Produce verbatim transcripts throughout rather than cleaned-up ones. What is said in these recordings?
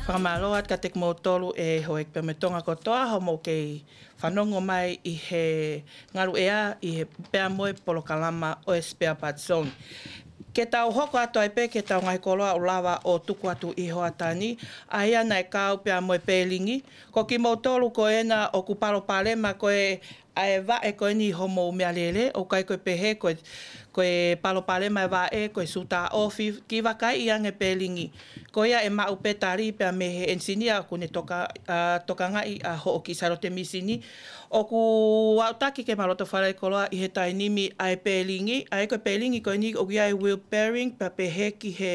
Fakamālō atu kiate kimoutolu ʻe houʻeiki pea mo e Tonga kotoa hoʻomou kei fanongo mai ʻi he ngaluʻea ʻi he pea mo e polokalama ʻo e Spare Parts Zone. Ke tau hoko atu ai pē ki heʻetau ngaahi koloa ʻoku lava ʻo tuku atu ʻi he hoʻatā ni, ʻa ia naʻe kau pea mo e pēlingi. Ko kimoutolu ko ena ʻoku palopalema ko ē ʻa e vaʻe ko eni homou meʻalele, ʻoku ʻikai ko e pehē ko e, ko e palopalema e vaʻe, ko e sū taʻofi, kiʻi vakaiʻi ange pēlingi. Ko ia ʻe maʻu pē tali pea mei he ʻenisinia ʻoku ne toka, ʻa, tokangaʻi ʻa hoʻo kiʻi sailote misini. ʻOku aʻutaki ke mau loto falekoloa ʻi he taimi ni ʻa e pēlingi, ʻa ia ko e pēlingi ko eni ʻoku ʻi ai e wheel bearing, pea pehē ki he,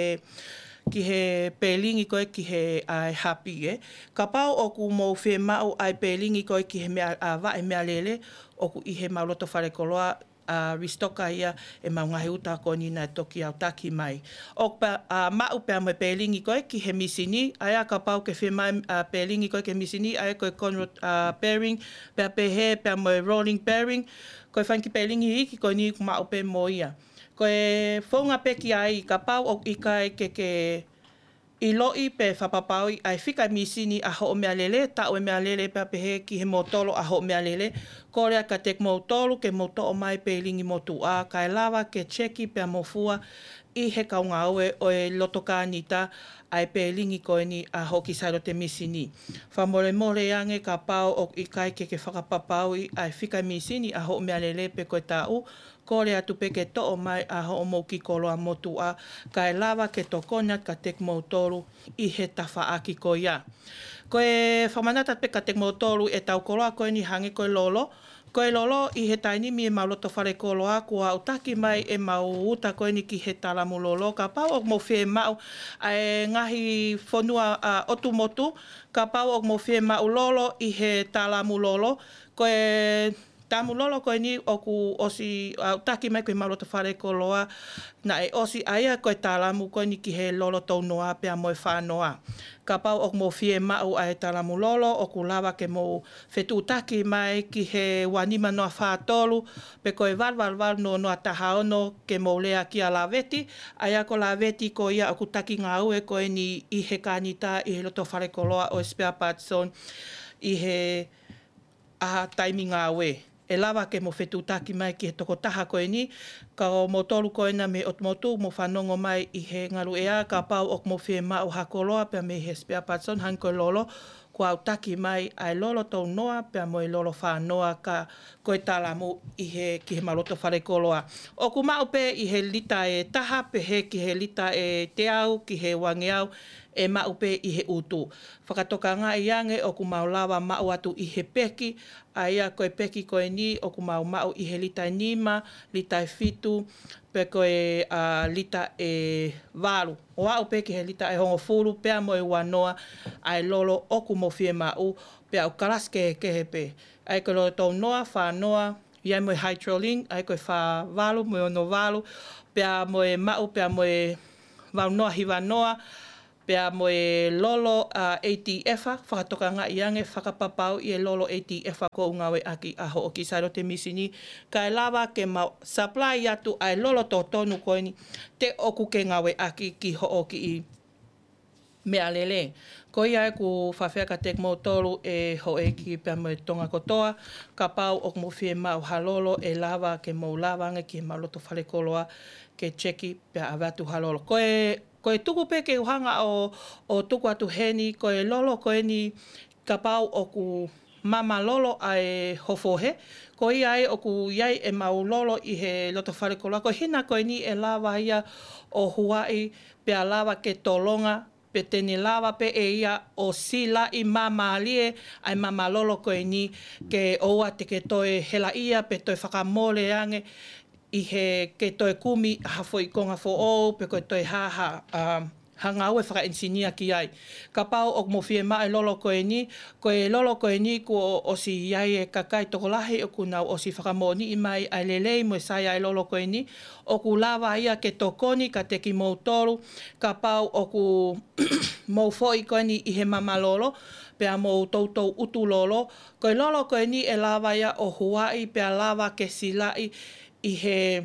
ki he pēlingi ko ē ki he ʻa e hapi ē. Kapau ʻoku mou fiemaʻu ʻa e pēlingi ko ē ki he meʻa, ʻa, vaʻe meʻalele, ʻoku ʻi heʻemau loto falekoloa, ʻa, restock ia ʻemau ngaahi uta ko eni naʻe toki aʻutaki mai. ʻOku pea, ʻa, maʻu pea mo e pēlingi ko ē ki he misini, ʻa ia kapau ʻoku ke fiemaʻu, ʻa, pēlingi ko ē ki he misini, ʻa ia ko e conrod, ʻa, bearing, pea pehē, pea mo e rolling bearing, ko e fanga kiʻi pēlingi iiki ko eni ʻoku maʻu pē mo ia. Ko e founga pē ki ai, kapau ʻoku ʻikai ke ke ʻiloʻi pe fakapapauʻi ʻa e fika e misini ʻa hoʻo meʻalele, taʻu e meʻalele pea pehē ki he mōtolo ʻa hoʻo meʻalele, kole atu kiate kimoutolu ke mou toʻo mai pēlingi motuʻa, kae lava ke check pea mo fua ʻi he kau ngāue ʻo e loto kānita ʻa e pēlingi ko eni ʻa hoʻo kiʻi sailote misini. Fakamolemole ange kapau ʻoku ʻikai ke ke fakapapauʻi ʻa e fika e misini ʻa hoʻo meʻalele pe ko e taʻu, kole atu pē ke toʻo mai ʻa hoʻomou kiʻi koloa motuʻa, kae lava ke tokoni atu kiate kimoutolu ʻi he tafaʻaki ko ia. Ko e fakamanatu atu pē kiate kimoutolu ʻetau koloa ko eni hangē ko e lolo. Ko e lolo ʻi he taimi ni ʻemau loto falekoloa kuo aʻutaki mai ʻemau uta ko eni ki he talamu lolo. Kapau ʻoku mou fiemaʻu ʻa e ngaahi fonua, ʻa, ʻotu motu, kapau ʻoku mou fiemaʻu lolo ʻi he talamu lolo, ko e talamu lolo ko eni ʻoku ʻosi aʻutaki mai ko ē ʻemau loto falekoloa, naʻe ʻosi ʻa ia ko e talamu ko eni ki he lolo tounoa pea mo e fānoa. Kapau ʻoku mou fiemaʻu ʻa e talamu lolo, ʻoku lava ke mou fetuʻutaki mai ki he ua nima noa fā tolu, pe ko e valu valu valu noa noa taha ono ke mou lea kia Laveti, ʻa ia ko Laveti ko ia ʻoku taki ngāue ko eni ʻi he kānita ʻi he loto falekoloa ʻo e Spare Parts Zone ʻi he ʻa e taimi ngāue. ʻE lava ke mou fetuʻutaki mai ki he tokotaha ko eni, ka ko moutolu ko ena mei he ʻotu motu mou fanongo mai ʻi he ngaluʻea, kapau ʻoku mou fiemaʻu ha koloa pea mei he Spare Parts Zone hangē ko e lolo, kuo aʻutaki mai ʻa e lolo tounoa pea mo e lolo fānoa ka ko e talamu ʻi he, ki heʻemau loto falekoloa. ʻOku maʻu pē ʻi he lita ʻe taha pehē ki he lita ʻe teau ki he uangeau ʻe maʻu pē ʻi he ʻutu. Fakatokangaʻi ange ʻoku mau lava maʻu atu ʻi he peki, ʻa ia ko e peki ko eni ʻoku mau maʻu ʻi he lita ʻe nima, lita ʻe fitu, pe ko e, ʻa, lita ʻe valu. ʻO aʻu pē ki he lita ʻe hongofulu pea mo e uanoa ʻa e lolo ʻoku mou fiemaʻu, pea ʻoku kalasi kehekehe pē. ʻA ia ko e lolo tounoa, fānoa, ʻi ai mo e Hydralink, ʻa ia ko e fā valu mo e ono valu, pea mo e maʻu, pea mo e valu noa hiva noa, pea mo e lolo, ʻa, A T F, fakatokangaʻi ange fakapapauʻi e lolo A T F ʻoku ngāueʻaki ʻa hoʻo kiʻi sailote misini, kae lava ke mau supply atu ʻa e lolo totonu ko eni te ʻoku ke ngāueʻaki ki hoʻo kiʻi meʻalele. Ko ia ʻoku ou fakaafeʻi atu kiate kimoutolu ʻe houʻeiki pea mo e Tonga kotoa, kapau ʻoku mou fiemaʻu ha lolo ʻe lava ke mou lava ange ki heʻemau loto falekoloa ke check pea ʻave atu ha lolo. Ko e, ko e tuku pē ke u hanga ʻo, ʻo tuku atu heni, ko e lolo ko eni kapau ʻoku mama lolo ʻa e ho fohe, ko ia ai ʻoku ʻi ai ʻemau lolo ʻi he loto falekoloa. Ko e hina ko eni ʻe lava ia ʻo huaʻi pea lava ke tolonga, pe te ne lava pē ʻe ia ʻo silaʻi māmālie ʻa e mama lolo ko eni ke ʻoua te ke toe helaʻia pe toe fakamole ange ʻi he ke toe kumi ha foʻi konga foʻou pe ko e toe hā ha, ʻa, ha ngāue fakaʻenisinia ki ai. Kapau ʻoku mou fiemaʻu e lolo ko eni, ko e lolo ko eni kuo ʻosi ʻi ai e kakai tokolahi ʻoku nau ʻosi fakamoʻoniʻi mai ʻa e lelei mo e sai ʻa e lolo ko eni, ʻoku lava ia ke tokoni kiate kimoutolu, kapau ʻoku mou foʻi ko eni ʻi he mama lolo, pea mou toutou ʻutu lolo, ko e lolo ko eni ʻe lava ia ʻo huaʻi pea lava ke silaʻi ʻi he,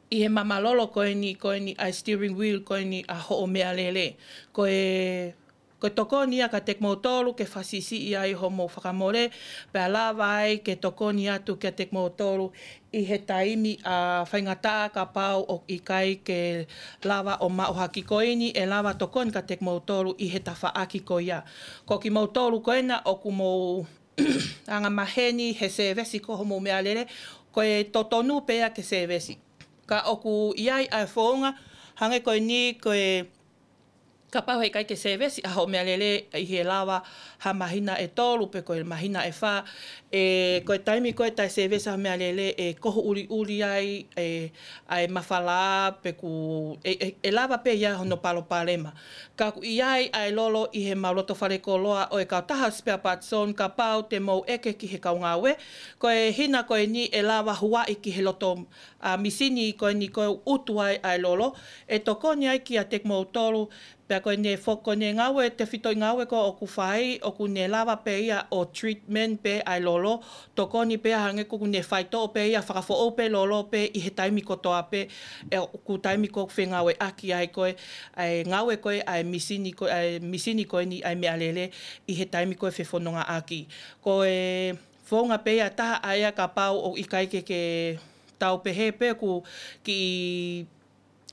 ʻi he mama lolo ko eni, ko eni ʻa e steering wheel ko eni ʻa hoʻo meʻalele. Ko e Ko e tokoni ia kiate kimoutolu ke fakasiʻisiʻi ai hoʻomou fakamole, pea lava ai ke tokoni atu kiate kimoutolu ʻi he taimi ʻa faingataʻa kapau ʻoku ʻikai ke lava ʻo maʻu ha kiʻi koini ʻe lava tokoni kiate kimoutolu ʻi he tafaʻaki ko ia. Ko kimoutolu ko ena ʻoku mou angamaheni he sēvesi ko hoʻomou meʻalele, ko e totonu pē ia ke sēvesi. Ka ʻoku ʻi ai ʻa e founga, hangē ko eni ko e kapau heʻikai ke sēvesi ʻa hoʻo meʻalele ʻi he lava ha māhina ʻe tolu pe ko e māhina ʻe fā, ʻe, ko e taimi ko ē taʻe sēvesi ʻa hoʻo meʻalele ʻe kohu ʻuliʻuli ai, ʻe, ʻa e mafala pe ʻoku, ʻe, ʻe, ʻe lava pē ia hono palopalema. Ka ʻoku ʻi ai ʻa e lolo ʻi he mau loto falekoloa ʻo e kautaha spare parts zone kapau te mou ʻeke ki he kau ngāue, ko e hina ko eni ʻe lava huaʻi ki he loto ʻa e misini ko eni ko e ʻutu ai ʻa e lolo, ʻe tokoni ai kiate kimoutolu, pea ko ʻene fo-, ko ʻene ngāue, tefitoʻi ngāue ko ē ʻoku fai, ʻoku ne lava pē ia ʻo treatment pē ʻa e lolo, tokoni pē ia hangē ko ʻene faitoʻo pē ia fakafoʻou pē lolo pē ʻi he taimi kotoa pē, ʻe ʻoku taimi ko ē ʻoku fengāueʻaki ai ko ē, ʻa e ngāue ko ē ʻa e misini ko, ʻa e misini ko eni ʻa e meʻalele ʻi he taimi ko ē fefonongaʻaki. Ko e founga pē ia ʻe taha ʻa ia kapau ʻoku ʻikai ke, ke tau pehē pē ʻoku kiʻi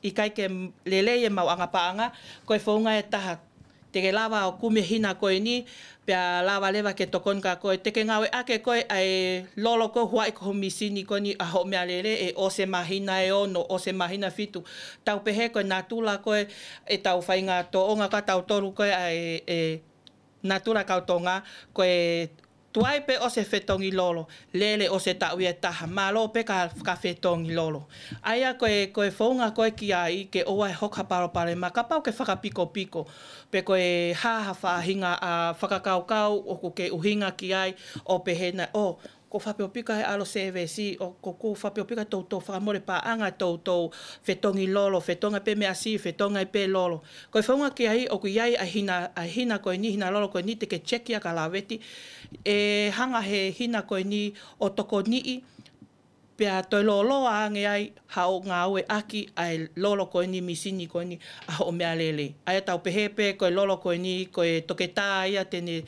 ʻikai ke lelei ʻemau anga paʻanga, ko e founga ʻe taha. Te ke lava ʻo kumi e hina ko eni, pea lava leva ke tokoni kia koe, te ke ngāueʻaki ʻe koe ʻa e lolo ko ē ʻoku huaʻi ko hoʻo misini ko eni ʻa hoʻo meʻalele ʻe ʻosi e māhina ʻe ono, ʻosi e māhina ʻe fitu. Tau pehē ko e natula ko ē ʻetau faʻahinga tōʻonga ka tau tolu ko ē ʻa e, e natula kau Tonga, ko e tuai pē ʻosi e fetongi lolo, lele ʻosi e taʻu ia ʻe taha, mālō pē ka, ka fetongi lolo. ʻA ia ko e, ko e founga ko ē ki ai ke ʻoua ʻe hoko ha palopalema, kapau ʻoku ke fakapikopiko, pe ko e hā ha faʻahinga ʻa fakakaukau ʻoku ke ʻuhinga ki ai ʻo pehē naʻa, ʻo, ʻoku ou fakaʻapiʻapika he ʻalu ʻo sēvesi, ʻo, ʻoku ou fakaʻapiʻapika toutou fakamole paʻanga toutou fetongi lolo, fetongi pē meʻa siʻi, fetongi pē lolo. Ko e founga ki ai ʻoku ʻi ai ʻa e hina, ʻa e hina ko eni, hina lolo ko eni te ke check ia kia Laveti. ʻE hanga he hina ko eni ʻo tokoniʻi, pea toe lōloa ange ai haʻo ngāueʻaki ʻa e lolo ko eni, misini ko eni ʻa hoʻo meʻalele. ʻA ia tau pehē pē ko e lolo ko eni, ko e toketā ia te ne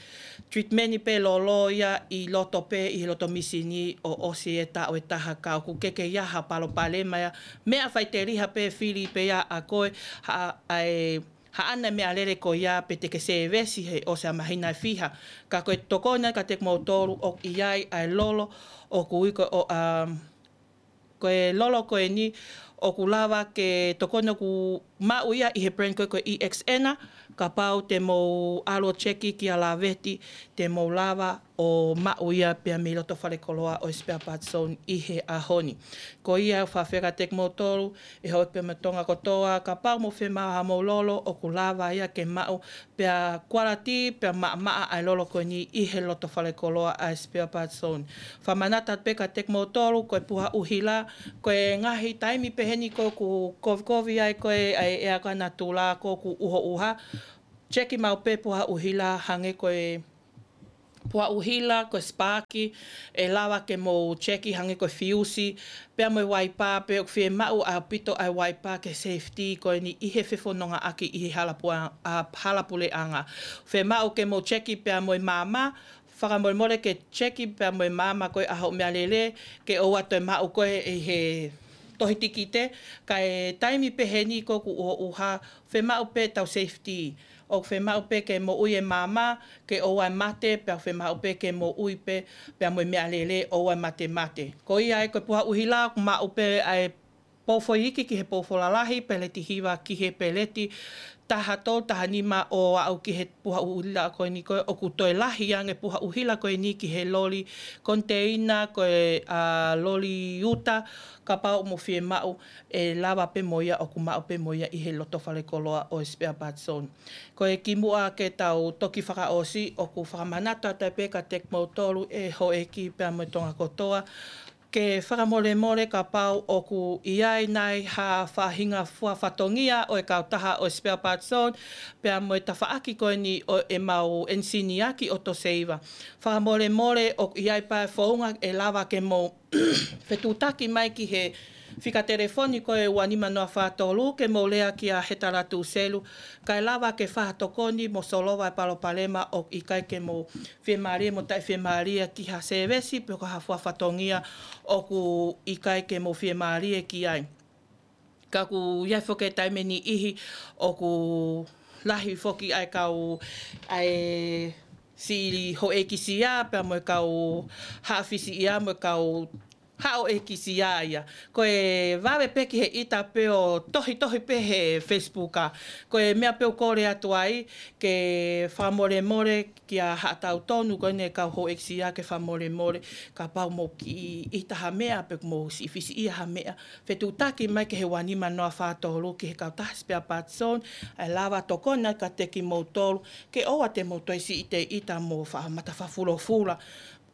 treatment pē lolo ia ʻi loto pē, ʻi he loto misini ʻo ʻosi e taʻu ʻe taha ka ʻoku ʻikai ke ʻi ai ha palopalema ia. Meʻa faiteliha pē fili pē ia ʻa koe, ha, ʻa e, haʻane meʻalele ko ia pe te ke sēvesi he ʻosi ʻa e māhina ʻe fiha. Ka ko e tokoni kiate kimoutolu ʻoku ʻi ai ʻa e lolo ʻoku ui ko ē ʻo, um, ko e lolo ko eni ʻoku lava ke tokoni ʻoku maʻu ia ʻi he brand ko ē ko e E X N, kapau te mou ʻalu ʻo check kia Laveti, te mou lava ʻo maʻu ia pea mei loto falekoloa ʻo e spare parts zone ʻi he ʻaho ni. Ko ia ʻoku ou fakaafeʻi kiate kimoutolu, ʻe houʻeiki pea mo e Tonga kotoa, kapau mou fiemaʻu haʻamou lolo, ʻoku lava ia ke maʻu, pea quality, pea maʻamaʻa ʻa e lolo ko eni ʻi he loto falekoloa ʻa e spare parts zone. Fakamanatu atu pē kiate kimoutolu, ko e puha ʻuhila, ko e ngaahi taimi peheni ko ē ʻoku kovikovi ai ko ē ʻa e ʻea ko ē natula ko ē ʻoku ʻuhoʻuha, check maʻu pē puha ʻuhila hangē ko e puha ʻuhila, ko e spark, ʻe lava ke mou check hangē ko e fiusi, pea mo e waipa, pe ʻoku fiemaʻu ʻaupito ʻa e waipa ke safety ko eni ʻi he fefonongaʻaki ʻi he hala pua-, ʻa, hala puleʻanga. Fiemaʻu ke mou check pea mo e maama, fakamolemole ke check pea mo e maama ko ē ʻa hoʻo meʻalele, ke ʻoua toe maʻu ko ē ʻi he tohi tikite, ka e taimi peheni ko ē ʻoku ʻuhoʻuha, fiemaʻu pē tau safety. ʻOku fiemaʻu pē ke moʻui e maama, ke ʻoua ʻe mate, pea fiemaʻu pē ke moʻui pē, pea mo e meʻalele ʻoua ʻe matemate. Ko ia ai ko e puha ʻuhila ʻoku maʻu pē ʻa e pou foʻi iiki ki he pou foʻi lalahi, peleti hiva ki he peleti taha tolu, taha nima ʻo aʻu ki he puha ʻuhila ko eni ko ē ʻoku toe lahi ange puha ʻuhila ko eni ki he loli koniteina ko ē, ʻa, loli uta, kapau ʻoku mou fiemaʻu, ʻe lava pē mo ia ʻoku maʻu pē mo ia ʻi he loto falekoloa ʻo e spare parts zone. Ko e kimuʻa ke tau toki fakaʻosi ʻoku fakamanatu atu pē kiate kimoutolu ʻe houʻeiki pea mo e Tonga kotoa, ke fakamolemole kapau ʻoku ʻi ai nai ha faʻahinga fua fatongia ʻo e kautaha ʻo e spare parts zone, pea mo e tafaʻaki ko eni ʻo ʻemau ʻenisini ʻaki ʻo Toseiva. Fakamolemole ʻoku ʻi ai pē founga ʻe lava ke mou fetuʻutaki mai ki he fika telefoni ko e ua nima noa fā tolu ke mou lea kia Hetala Tuselu, kae lava ke fakatokoni mo solova e palopalema ʻoku ʻikai ke mou fiemālie mo taʻefiemālie ki ha sēvesi pe ko ha fua fatongia ʻoku ʻikai ke mou fiemālie ki ai. Ka ʻoku ʻi ai foki e taimi ʻe niʻihi ʻoku lahi foki ʻa e kau ʻa e siʻi houʻeiki sia pea mo e kau haʻa fisi ia mo e kau haʻa houʻeiki sia ia. Ko e vave pē ki he ʻita pē ʻo tohitohi pē he Facebook. Ko e meʻa pē ʻoku kole atu ai ke fakamolemole kia haʻa tautonu ko eni e kau houʻeiki sia ke fakamolemole kapau mou kiʻi ʻita ha meʻa pe mou siʻi fisiʻia ha meʻa. Fetuʻutaki mai ki he ua nima noa fā tolu ki he kautaha Spare Parts Zone, ʻe lava tokoni atu kiate kimoutolu ke ʻoua te mou toe siʻi ʻita mo fakamata fakafulofula.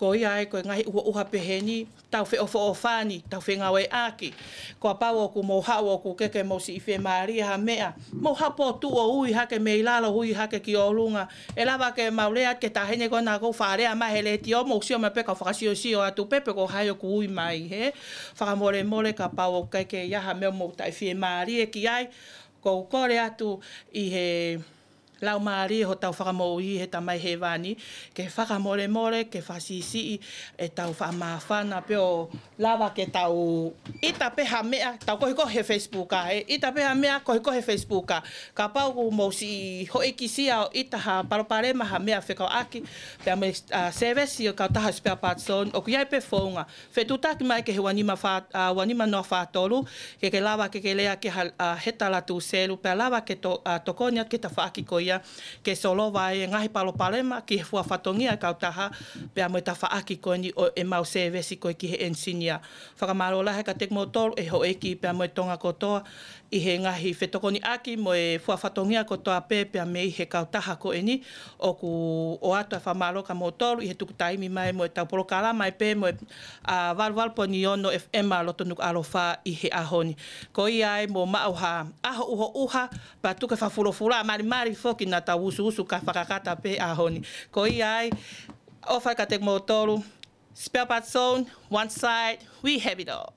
Ko ia ai ko e ngaahi ʻuhoʻuha pehē ni, tau feʻofoʻofani, tau fengāueʻaki. Kapau ʻoku mou haʻu ʻoku ʻikai ke mou siʻi fiemālie ha meʻa, mou haʻu pē ʻo tuʻu ʻo ui hake mei lalo, ui hake ki ʻolunga. ʻE lava ke mau lea ki he taʻahine ko ena ʻoku fakalea mai he letiō, mou sio mai pē kau fakasiosio atu pē pe ko hai ʻoku ui mai hē. Fakamolemole kapau ʻoku ʻikai ke ʻi ai ha meʻa ʻoku mou taʻefiemālie ki ai. ʻOku ou kole atu ʻi he Laumālie hotau Fakamoʻui, he Tamai Hēvani, ke fakamolemole, ke fakasiʻisiʻi ʻetau fakamāfana pea ʻo lava ke tau ʻita pē ha meʻa, tau kohikohi he Facebook, ʻe ʻita pē ha meʻa, kohikohi he Facebook. Kapau ʻoku mou siʻi houʻeiki sia ʻo ʻita ha palopalema, ha meʻa fekauʻaki pea mo e, ʻa, sēvesi ʻo e kautaha Spare Parts Zone, ʻoku ʻi ai pē founga. Fetuʻutaki mai ki he ua nima fā, ʻa, ua nima noa fā tolu, ke ke lava ke ke lea kia ha, ʻa, Hetala Tuselu, pea lava ke to-, ʻa, tokoni atu ki he tafaʻaki ko ia, ke solova e ngaahi palopalema ki he fua fatongia e kautaha, pea mo e tafaʻaki ko eni ʻo ʻemau sēvesi ko ē ki he ʻenisinia. Fakamālō lahi kiate kimoutolu e houʻeiki pea mo e Tonga kotoa, ʻi he ngaahi fetokoniʻaki mo e fua fatongia kotoa pē pea mei he kautaha ko eni, ʻoku ʻoatu e fakamālō kia moutolu ʻi he tuku taimi mai mo ʻetau polokalama ai pē mo e, ʻa, valu valu poini ono FM ʻa Loto Nukuʻalofa ʻi he ʻaho ni. Ko ia ai mou maʻu ha ʻaho ʻuhoʻuha, pea tuku e fakafulofula, malimali foki naʻa tau usuusu kae fakakata pē ʻaho ni. Ko ia ai, ʻofa kiate kimoutolu, Spare Parts Zone, one side, we have it all.